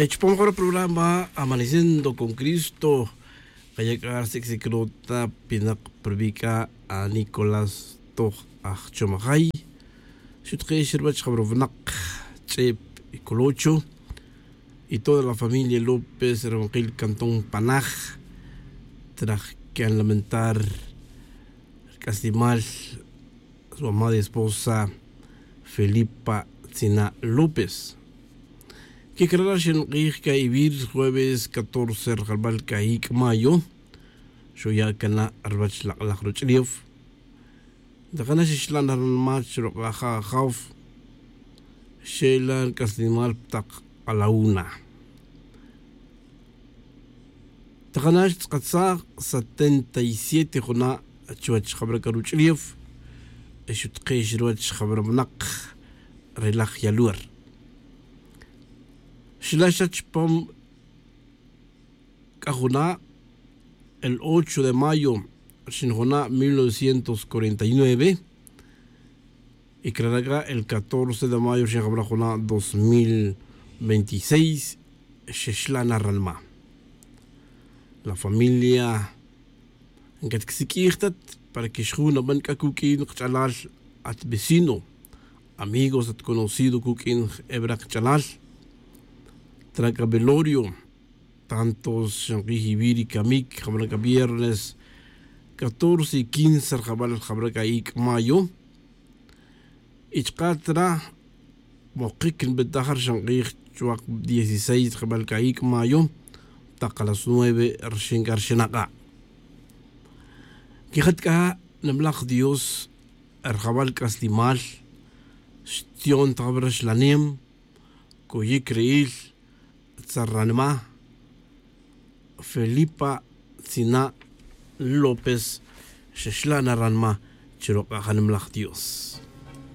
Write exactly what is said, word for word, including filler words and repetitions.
Chupam jun ri programa amaneciendo con cristo, kaya' k'a ri sik'sik rota pinak pa rubi' k'a a nicolás toj ajchomajay. Xutq'ix ruwach jab'ra winaq ch'eb' colocho y toda la familia lópez ri winqil cantón panaj traj can lamentar ri k'aslimal su amada esposa felipa tzina' lópez. Kikara' ri xinq'ij k'a ivir jueves catorce ri jalb'al k'a ik' mayo xuya' kana' ruwach lak'laj ruch'ulef. Ntakana' xixla' na ri nimach ruq'aja' ajaw xe'la' ri k'aslimal pa taq a la una. Takana' xtz'akatsaj setenta y siete juna' chuwech jab'ra' k'a ruch'ulef y xutqix ruwech jab'ra' winaq. Re laj yaluer xila' xa chupam k'a juna'. El ocho de mayo rixin juna' mil novecientos cuarenta y nueve. Y crara' c'a el catorce de mayo rixin jab'ra' juna' dos mil veintiséis. Xexla' na ranma' la familia ncat quisik'ij tat para que xjun naban c'a cuq'uin kach'alal at vecino amigos at conocido cuq'uin ebra' kach'alal. Trac'a velorio tanto xank'ij iwi' ri camic jabra' c'a viernes catorce y quince ri jabal jabra' c'a ic' mayo. Y chka' tra mokic nbetaj ri xank'ij chuwak dieciséis ri jabal c'a ic' mayo. Tak a las nueve rixin c'a ri xinak'a' quijat c'a nimalaj dios. Ri jabal c'aslimal xtion ta jabal raxlanem coyic ri'il tzar ranma'. Felipa tzina' lópez xaxla' na ranma' chi ruk'a' janimlaj dios.